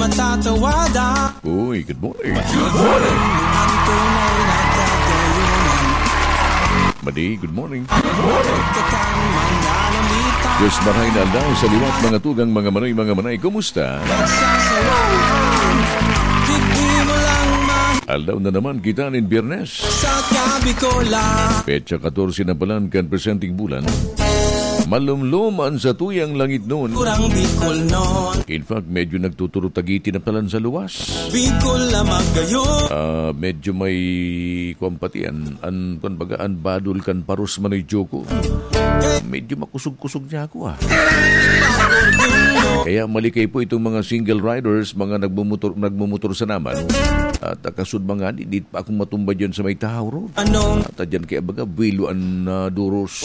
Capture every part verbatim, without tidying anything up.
Matatawada. Uy, good morning. Good morning. Ang tunay na kagayonan. Madi, good morning. Pagkatang mananamita. Diyos, maray na aldaw sa liwat, mga tugang, mga manoy, mga manay. Kumusta? Pagsasawahan. Hindi mo lang ma- Aldaw na naman kita nin Biyernes. Sa gabi ko lang. Petsa katorse na palan kan presenteng bulan. Malumlom an satuyang langitnon. Kurang Bicol nun. In fact, medyo nagtuturo-tagiti na palan sa luwas. Bicol na magayon. Ah, medyo may, kwan pati, an, an, kwan baga, an badol kan paros, Manoy Joko. Medyo makusog-kusog niya ako, ah. Kaya malikay po itong mga single riders, mga nagmumotor, nagmumotor sa naman. At, ah, kasud mga di, di pa akong matumba dyan sa may Tahaw Road. Anong At, ah, dyan kaya baga, buwelo an, ah, duros.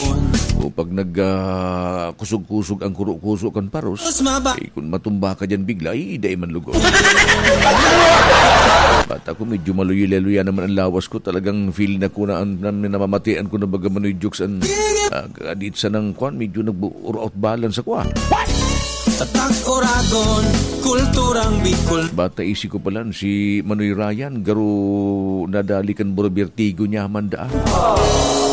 O pag nag, ah, kusog-kusog ang kuro-kuso kan paros, Mas maba- eh, kung matumba ka dyan bigla, eh, dai man lugaw. Bata ko, medyo maluya-luya naman ang lawas ko. Talagang feel na ko na, an, na, namamatian ko na baga, Manoy Jokes, an, ah, kadit sa nang kwan, medyo nag-out balance ako, ah. Tatak Oragon, kulturang Bicol. Bata isi ko palan si Manoy Ryan, garo nadali kan buro bertigo niya man daan.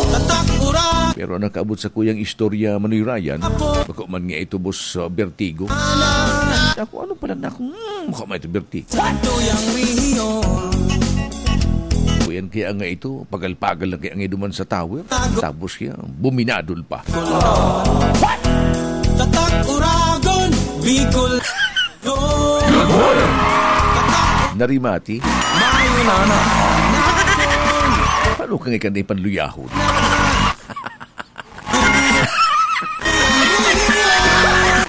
Tatak Oragon. Pero nakaabot sa kuyang istorya, Manoy Ryan, Apo. Bako man nga ito, boss, uh, bertigo. Ana. Ako, ano pala na ako? Hmm, bako man ito bertigo. Tuyang Rio. Kuyan kaya nga ito, pagal-pagal lang kaya nga duman sa tower. Tago. Tapos kaya, buminadol pa. Tatak Oragon, Bicol. Good morning. Narimati. Mayunanan. Paano ka nga ikan ipanluyahon?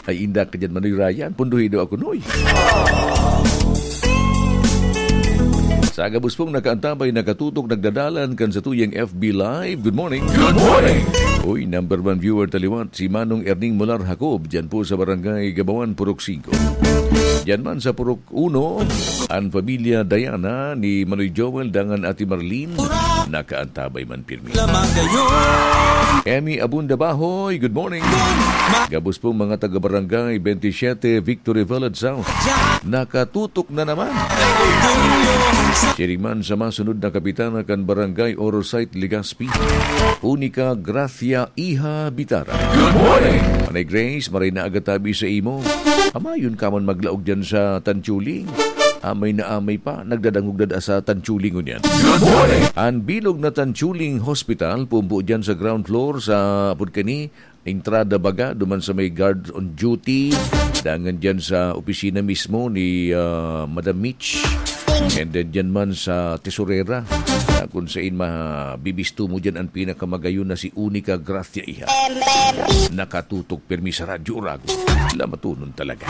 Ay, inda ka dyan, Manoy Ryan. Punduhi daw ako, Noy. Sa gabos pong nakaantabay, nakatutok, nagdadalan kan sa tuyang F B Live. Good morning. Good morning. Uy, number one viewer taliwat, si Manong Erning Mular Jacob, dyan po sa Barangay Gabawan, Purok singko. Dyan man sa Purok uno, ang pamilya Diana ni Manoy Joel dangan Ate Marlene, nakaantabay man pirmi. Lamagayon. Emmy Abunda Bahoy, good morning. Gabos pong mga taga-barangay twenty-seven, Victory Village South. Nakatutok na naman. Siring man sa masunod na kapitana kan Barangay Oro Site, Legazpi, Unica Gracia Iha Bitara. Good morning. Manay Grace, maray na aga tabi sa imo. Amayon ka man maglaog dyan sa Tanchuling. Amay na amay pa, nagdadangog dada sa Tanchuling ngunyan. Good morning. Ang bilog na Tanchuling Hospital, pumpo dyan sa ground floor sa, apod kani, entrada baga, duman sa may guard on duty, dangan dyan sa opisina mismo ni, ah, Madam Mitch. And then dyan man sa tesorera, ah, kung sain mabibisto mo dyan ang pinakamagayon na si Unica Gracia Iha. Nakatutok pirmi sa Radyo Oragon. Lamatunon talaga.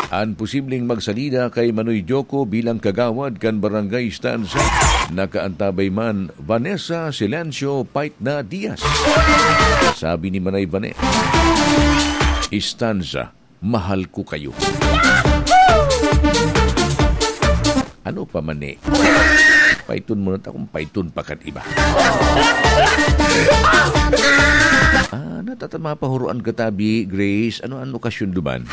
An posibleng magsalida kay Manoy Joko bilang kagawad kan Barangay Stanza, nakaantabay man Vanessa Silencio Paitna Diaz. Sabi ni Manay Vanessa, "Stanza, mahal ko kayo." Ano pa man eh? Paiton mo na ta kung paiton pa kan iba. Ah, natatama pa huroan ka tabi, Grace. Ano an okasyon duman?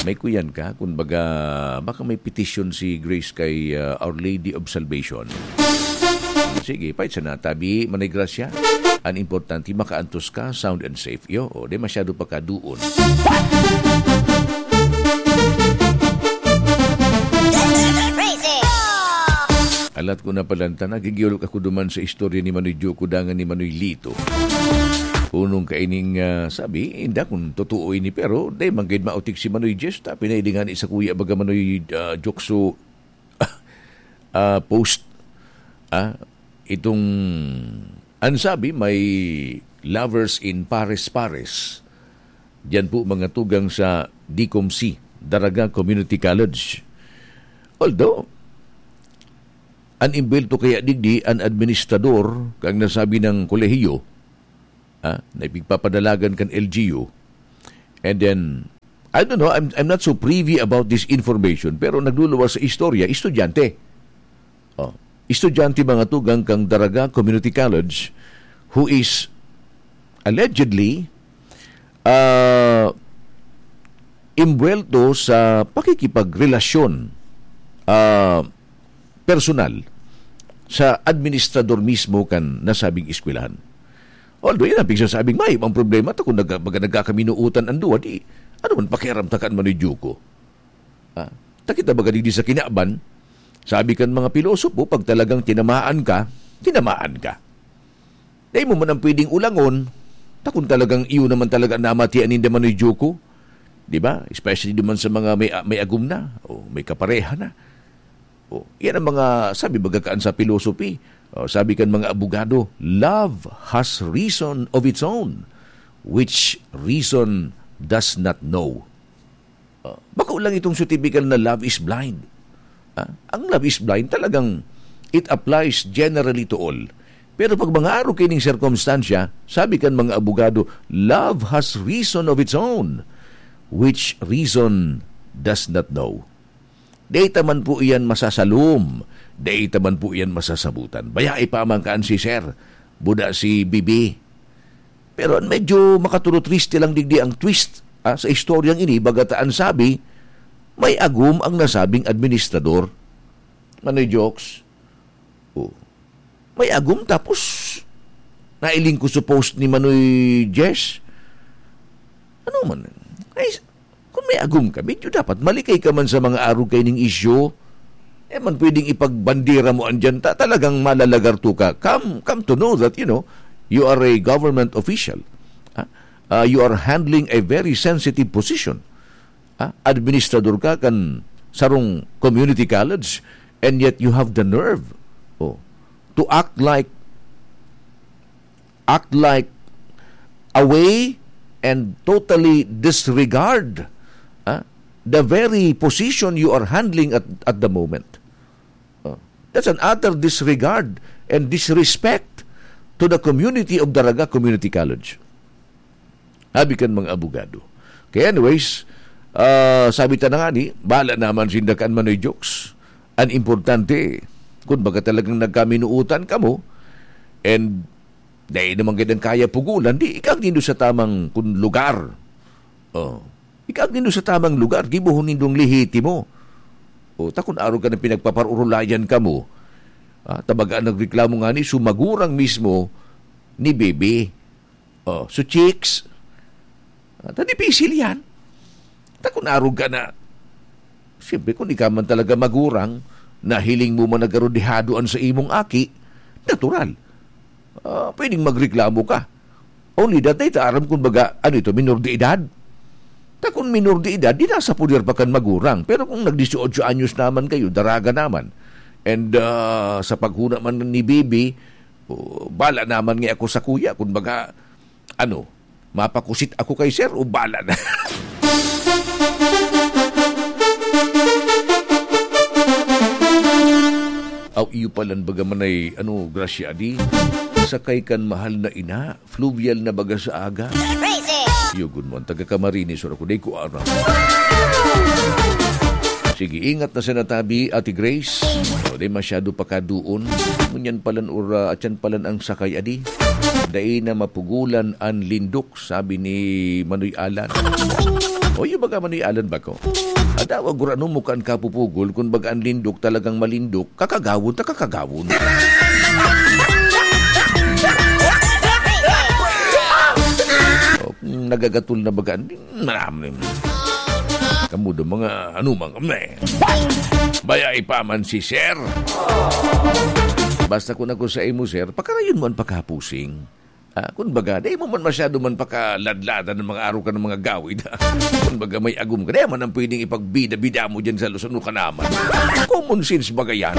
May kuyan ka? Kung baga, baka may petition si Grace kay, ah, Our Lady of Salvation. Sige, pait sana tabi, Manay Gracia. An importante, makaantos ka, sound and safe. Iyo, o, di masyado pa kaduon. Alat ko na palanta, nagigiyolok ako duman sa istorya ni Manoy Joko dangan ni Manoy Lito. Kunong kaining, ah, sabi, inda kung totoo ini, pero di man gid maotik si Manoy Jess, ta pinaili ngani sa kuya baga Manoy, ah, Jokso, ah, post, ah, itong, ang sabi, may lovers in Pares-Pares. Diyan po mga tugang sa D C O M C, Daraga Community College. Although, an imbelto kaya digdi an administrador kang nasabi ng kolehiyo, ah, na ipigpapadalagan kan L G U. And then, I don't know, I'm, I'm not so privy about this information, pero nagluluwas sa istorya, estudyante. Oh, estudyante mga tugang kang Daraga Community College, who is allegedly, ah, imbuwelto sa pakikipagrelasyon, ah, personal sa administrador mismo kan nasabing eskwelahan. Although, yan ang pigsasabing, "May ibang problema ta kung nag-, baga nagkakaminuutan an duwa, di, ano man pakiaram ta kan Manoy Joko?" Ah, ta kita baga digdi sa kinaban, sabi kan mga pilosopo, pag talagang tinamaan ka, tinamaan ka. Dai mo man ang pwedeng ulangon, ta kung talagang iyo naman talaga namatian ninda Manoy Joko, di ba? Especially duman sa mga may, may agom na, o may kapareha na. O, yan ang mga, sabi baga kaan sa philosophy, o, sabi kan mga abogado, "Love has reason of its own, which reason does not know." Ah, bako lang itong so typical na love is blind. Ah, ang love is blind, talagang it applies generally to all. Pero pag mga arog kaining sirkumstansya, sabi kan mga abogado, "Love has reason of its own, which reason does not know." Dai ta man po iyan masasalom, dai ta man po iyan masasabutan. Bayae pa man kaan si Sir, buda si Bibi. Pero an medyo makatulotriste lang digdi ang twist, ah, sa istoryang ini, baga ta an sabi, may agom ang nasabing administrador. Manoy Jokes. Oh. May agom tapos nailing ko sa post ni Manoy Jess. Ano man? Ay, kung may agom ka, medyo dapat malikay ka man sa mga arog kaining isyu. Eh man pwedeng ipagbandera mo andyan, ta-, talagang malalagarto ka. Come, come to know that, you know, you are a government official. Ah, ah, you are handling a very sensitive position. Ah, administrador ka kan sarong community college, and yet you have the nerve, oh, to act like, act like away and totally disregard, ah, the very position you are handling at, at the moment. Oh, that's an utter disregard and disrespect to the community of Daraga Community College. Sabi kan mga abogado. Kaya anyways, ah, sabi ta na nga ni, bahala naman sinda kan Manoy Jokes. An importante, kung baga talagang nagkaminuutan kamo, and dai naman gid ang kaya pugulan, di ikaag nindo sa tamang kun lugar. Oh. Ikaag nindo sa tamang lugar, gibohon nindong lehitimo. O, ta kun arog ka ng pinagpaparurulayan kamo, ah, ta baga nagreklamo nga ni, so magurang mismo ni Bibi. Oh, so chicks, ah, ta dipisil yan. Ta kun arog ka na, siyempre, kung ikaw man talaga magurang, na hiling mo man nagarodehado an sa imong aki, natural. Ah, pwedeng magreklamo ka. Only that, dai ta aram kung baga, ano ito, minor de edad? Ta kun minor de edad, di nasa poder pa kan magurang. Pero kung nag-dieciocho anyos naman kayo, daraga naman. And, ah, sa paghuna man ni Bibi, oh, bala naman nga ako sa kuya, kung baga, ano, mapakusit ako kay sir o bala na. Aw, iyo palan baga man ay, ano, grasya di? Sakay kan mahal na ina, fluvial na baga sa aga. Yugon mo, ang taga Camarines, or ako, di ko aram. Sige, ingat na sa natabi, Ate Grace. O, di masyado pakaduon. Ngunyan palan or, ah, atyan palan ang sakay, adi. Dai na mapugulan an lindok, sabi ni Manoy Alan. O, yung baga Manoy Alan ba ko? Adawa, gurano mo kan kapupugol, kung baga an lindok talagang malindok, kakagawon ta kakagawon. O, kung nagagatol na baga, hindi, marami. Kamu do mga ano man kami. Baya ipaman si Sir. Basta kung ako sa imo, Sir, pakarayon mo ang pagkapusing. Ah, kun baga, di mo man masyado man pakaladladan ng mga araw ka ng mga gawid. Kun baga, may agom ka. Di man ang pwedeng ipagbida-bida mo dyan sa Luzon, ka naman. Common sense baga yan.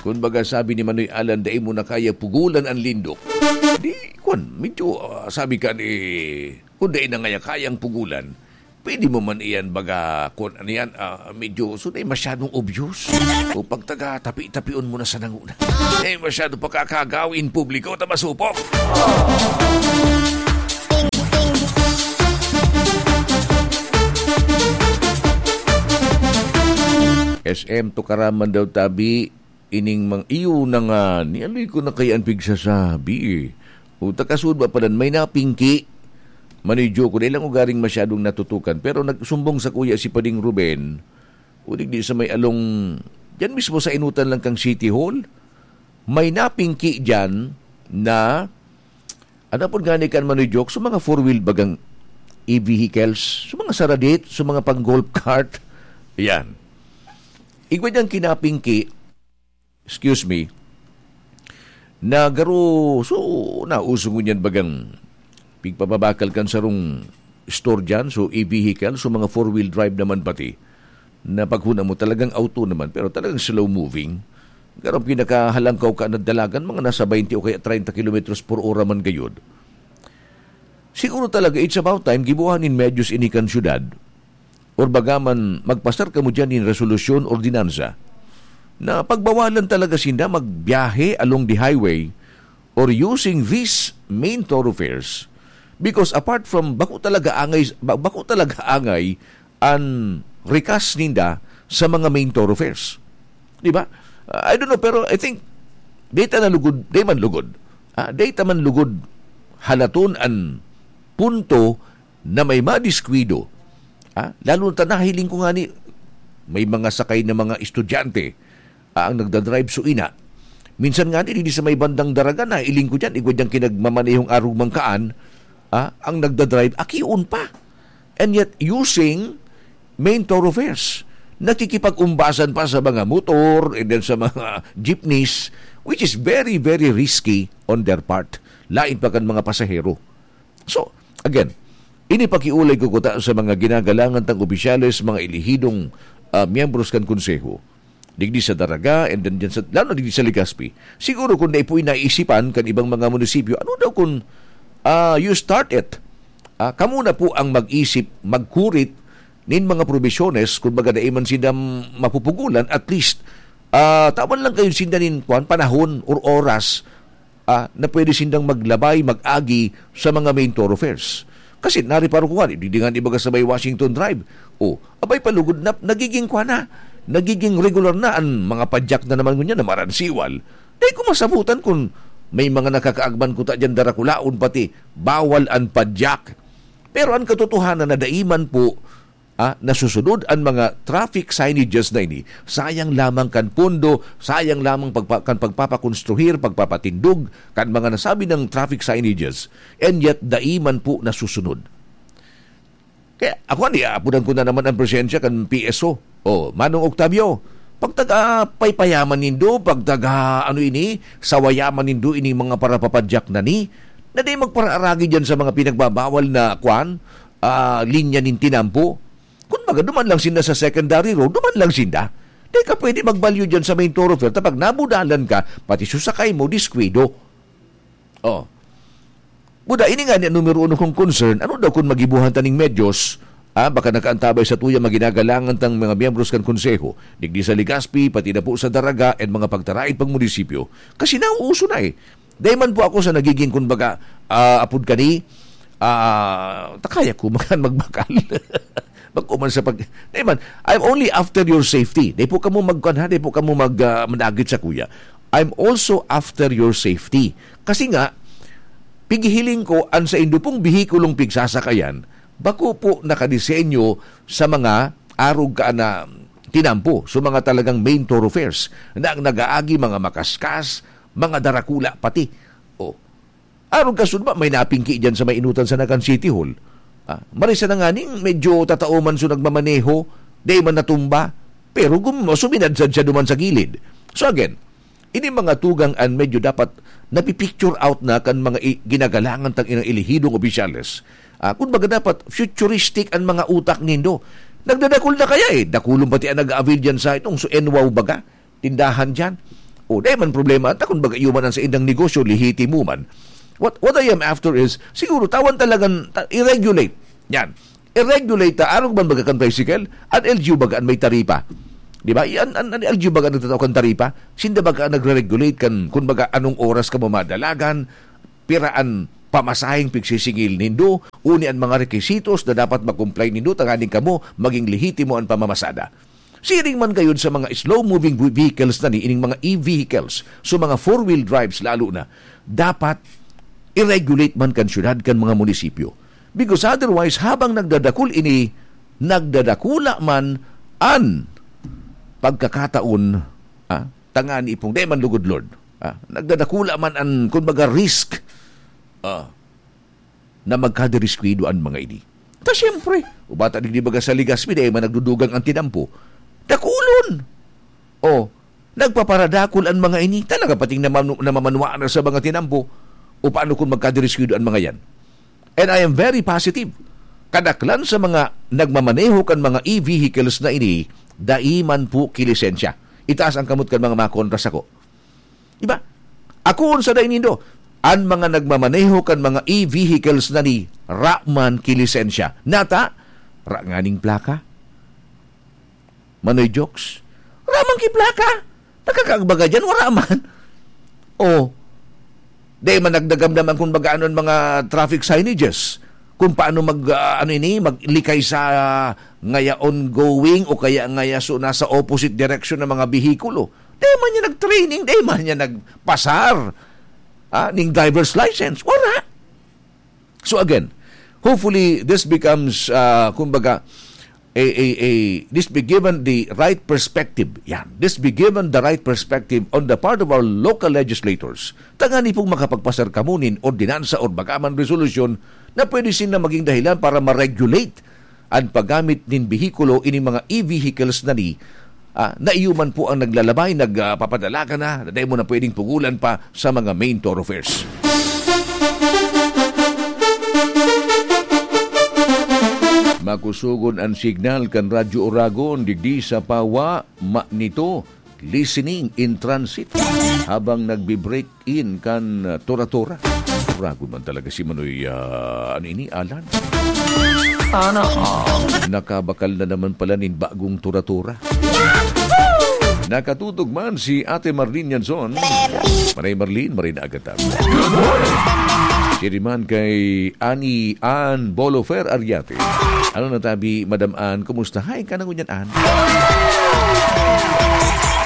Kun baga, sabi ni Manoy Alan, dai mo na kaya pugulan ang lindok. Di, kun, medyo, ah, sabi ka ni, kung dai na ngaya kayang pugulan, pwede mo man iyan baga, kun ano yan, ah, medyo, so, dai masyadong obvious. O pag taga, tapi-tapion mo na sa nanguna. Eh, masyado pagkakagawin publiko, ta masupok. S M Tukaraman daw tabi, ining mang iyo na nga, nialoy ko na kaya ang pigsasabi. O, takasud ba palan, may napingki. Manoy Joko, dai lang ko garing masyadong natutukan, pero nagsumbong sakuya si Pading Ruben, o digdi sa may along, diyan mismo sa inutan lang kan City Hall, may napingki diyan na, ano po gani kan Manoy Joko, sa mga four-wheel bagang e-vehicles, sa mga saradit, sa mga pang-golf cart, yan. Igwa diyang kinapingki, excuse me, na garo, so, nauso ngunyan bagang pigpababakal kan sarong store dyan, so e-vehicle, so mga four-wheel drive naman pati, na paghuna mo talagang auto naman, pero talagang slow-moving. Garo pinakahalangkaw ka na dalagan, mga nasa twenty o kaya treinta kilometros por ora man gayod. Siguro talaga, it's about time, gibuhan nin medyos ini kan syudad. Or baga man, magpasar kamo dyan nin resolusyon, ordinansa, na pagbawalan talaga sinda magbiyahe along the highway or using these main thoroughfares. Because apart from, bako talaga angay, ba-, bako talaga angay an rikas ninda sa mga main thoroughfares. Di ba? Uh, I don't know, pero I think, data na lugod, di man lugod. Ah, data man lugod, halaton an punto na may madiskwido. Ah, lalo na ta nahiling ko nga ni, may mga sakay na mga estudyante, ah, ang nagdadrive so ina. Minsan nga ni, di sa may bandang Daraga, nahiling ko dyan, igwa dyan kinagmamanehong arog mangkaan, ah, ang nagdadrive, akion pa. And yet, using main thoroughfares, nakikipag-umbasan pa sa mga motor and then sa mga jeepneys, which is very, very risky on their part. Lain pa kan mga pasahero. So, again, ini pakiulay ko kuta sa mga ginagalangan tang opisyales, mga elehidong, ah, miyembros kan konseho. Digdi sa Daraga, and then dyan sa, lalo na digdi sa Legazpi. Siguro kung dai po naisipan kan ibang mga munisipyo, ano daw kung, ah, you start it? Ah, kamo na po ang mag-isip, magkurit nin mga probisyones, kung baga dai man sinda mapupugulan, at least, ah, tawan lang kayo sinda nin, kwan, panahon or oras, ah, na pwede sindang maglabay, mag-agi sa mga main thoroughfares. Kasi nareparo ko nga, di, di nga ibaga sa may Washington Drive. O, abay, palugod na, nagiging kwa na, nagiging regular na an mga padyak na naman ngunyan na maransiwal. Dai ko masabutan kun may mga nakakaagman kuta diyan darakulaon pati bawal an padyak. Pero an katotohanan na dai man po, ah, nasusunod an mga traffic signages na ini, sayang lamang kan pondo, sayang lamang pagpa-, kan pagpapakonstruhir, pagpapatindog kan mga nasabi ng traffic signages, and yet dai man po nasusunod. Kaya ako, ani, aapodan ko na naman ang presensya kan P S O. O, Manong Octavio, pagtaga paypayaman nindo, pagtaga, ano ini, sawayaman nindo ini mga parapapadyak na ni, na di magparaaragi dyan sa mga pinagbabawal na, kwan, ah, linya nin tinampo. Kun baga, duman lang sinda sa secondary road, duman lang sinda. Di ka pwede magbalyo dyan sa main thoroughfare. Tapag nabudalan ka, pati susakay mo, diskwido. Oh. Buda, ini nga ni numero uno kong concern, ano daw kun magibuhan taning medyos, ah, baka nakaantabay sa tuya maginagalangan tang mga miyembros kan konseho, digdi sa Legazpi, pati na po sa Daraga, and mga pagtaraid pang munisipyo. Kasi nauuso na eh. Dahil man po ako sa nagiging, kumbaga, ah, apod kani, ah, takaya ko, makan magbakal. Magkuman sa pag-, dahil man, I'm only after your safety. Dahil po kamo magkuhan ha, dahil po kamo mag, ah, managit sa kuya. I'm also after your safety. Kasi nga, pighihiling ko, an saindo pong behikulong pigsasakayan, bako po nakadisenyo sa mga arog ka na tinampo, so mga talagang main thoroughfares, na ang nag-aagi, mga makaskas, mga darakula pati. O, arog ka sud ba, may napingki dyan sa may inutan sa Nagan City Hall. Ah, marisa na nga ning medyo tatao man so nagmamaneho, dai man natumba, pero gum-, suminadsad siya duman sa gilid. So again, ini mga tugang an medyo dapat napipicture out na kan mga i-, ginagalangan tang inang elehidong opisyales. Ah, kun baga dapat futuristic an mga utak nindo. Nagdadakul na kaya eh. Dakulon pati ang nag-a-avail dyan sa itong so N W O W baga. Tindahan dyan. O, dai man problema. At kun baga iyo man ang sa indang negosyo, lehitimo man. What, what I am after is, siguro, tawan talagan, ta-, i-regulate. Yan. I-regulate ta, arog man baga kan tricycle, an L G U baga an may taripa. Di ba? An, an, an L G U baga nagtatao kan taripa, sinda baga ang nagre-regulate kan, kun baga anong oras ka mamadalagan, pira an pamasaheng pigsisingil nindo, uni an mga requisitos na dapat ma-comply nindo, tanganing kamo maging lehitimo an pamamasada. Siring man gayud sa mga slow-moving vehicles na ni, ining mga e-vehicles, so mga four-wheel drives lalo na, dapat i-regulate man kan syudad, kan mga munisipyo. Because otherwise, habang nagdadakul ini, nagdadakula man an pagkakataon, ah, tangani pong, dai man lugod, Lord. Ah, nagdadakula man an, kumbaga, risk, ah, na magkadiriskwidyo an mga ini. Ta siyempre, uba ta digdi baga sa Legazpi, dai man nagdudugang an tinampo. Dakulon! Oh, nagpaparadakul an mga ini. Talaga pating namanu-, namamanwa na sa mga tinampo. O paano kung magkadiriskwidyo an mga yan? And I am very positive. Kadaklan sa mga nagmamaneho kan mga e-vehicles na ini, dai man po kilisensya. Itaas ang kamot kan mga makontra sako. Diba? Ako, unsa dai nindo? An mga nagmamaneho kan mga e-vehicles na ni, ra man kilisensya. Nata, ra nganing plaka. Manoy Jokes. Ra man ki plaka. Nakakagbaga dyan, wala man. Oh. Dai man nagdagamdaman kung baga ano ang mga traffic signages. Kung paano mag, ah, ano ini, maglikay sa, ah, ngaya ongoing o kaya ngaya so, nasa opposite direction ng mga bihikulo. Dai man niya nag-training, dai man niya nagpasar, ah, ning driver's license. Wala. So again, hopefully this becomes, ah, kumbaga, a, a, a, this be given the right perspective. Yan. This be given the right perspective on the part of our local legislators. Tangani pong makapagpasar kamo nin ordinansa or baka man resolusyon na pwede sinda maging dahilan para ma-regulate an paggamit nin behikulo, ining mga e-vehicles na ni, ah, na iyo man po ang naglalabay, nag, ah, papadala ka na, na dai mo na pwedeng pugulan pa sa mga main thoroughfares. Makusogon an signal kan Radyo Oragon digdi sa Pawa, Manito, listening in transit habang nagbi-break in kan, ah, Tora-Tora. Oragon man talaga si Manoy, ah, ano ini, Alan? Sana all. Nakabakal na naman pala nin bagong Tora-Tora. Nakatutok man si Ate Marlene Yanzon. Maray Marlene, maray na agad tabi. Siya naman kay Ani Ann Bolofer Ariate. Ano na tabi, Madam Ann? Kumusta? Hi, ka na ngunyan, Ann.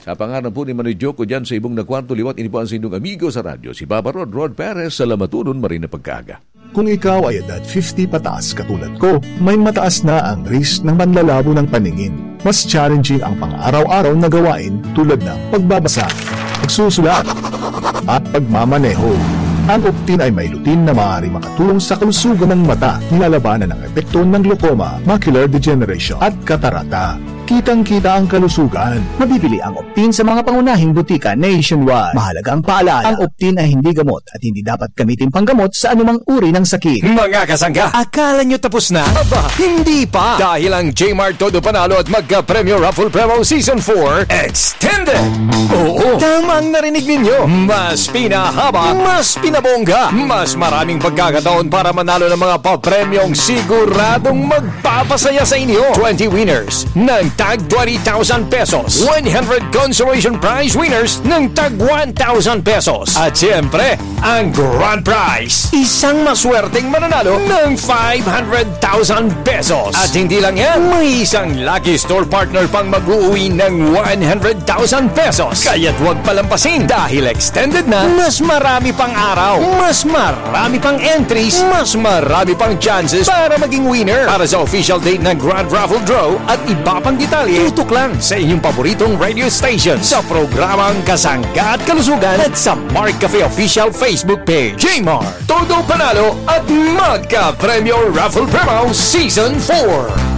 Sa pangaran po ni Manoy Joko dyan sa ibong na kwarto liwat, ini po ang sindong amigo sa radyo, si Baba Rod, Rod Perez, sa Lamatunon, maray na pagkaaga. Kung ikaw ay edad fifty pataas katulad ko, may mataas na ang risk ng panlalabo ng paningin. Mas challenging ang pang-araw-araw na gawain tulad ng pagbabasa, pagsusulat, at pagmamaneho. Ang Optin ay may lutein na maaari makatulong sa kalusugan ng mata, nilalabanan ang epekto ng glaucoma, macular degeneration, at katarata. Kitang-kita ang kalusugan. Mabibili ang Optin sa mga pangunahing butika nationwide. Mahalagang paalala, ang Optin ay hindi gamot at hindi dapat gamitin panggamot sa anumang uri ng sakit. Mga kasangga, akala nyo tapos na? Aba, hindi pa! Dahil ang J-Mart Todo Panalo at Magka Premyo Raffle Promo Season four Extended! Oo, tama ang narinig ninyo! Mas pinahaba, mas pinabongga, mas maraming pagkakataon para manalo ng mga papremyong siguradong magpapasaya sa inyo. Twenty winners ng tag twenty thousand pesos, one hundred consolation prize winners ng tag one thousand pesos, at siyempre, ang grand prize, isang maswerteng mananalo ng five hundred thousand pesos. At hindi lang yan, may isang lucky store partner pang mag-uuwi ng one hundred thousand pesos. Kaya't huwag palampasin dahil extended na, mas marami pang araw, mas marami pang entries, mas marami pang chances para maging winner. Para sa official date ng Grand Raffle Draw at iba pang detalye, tutok lang sa inyong paboritong radio station sa programang Kasangga at Kalusugan at sa Mark Cafe Official Facebook page. J-Mart, todo panalo at magka-premyo Raffle Promo Season four.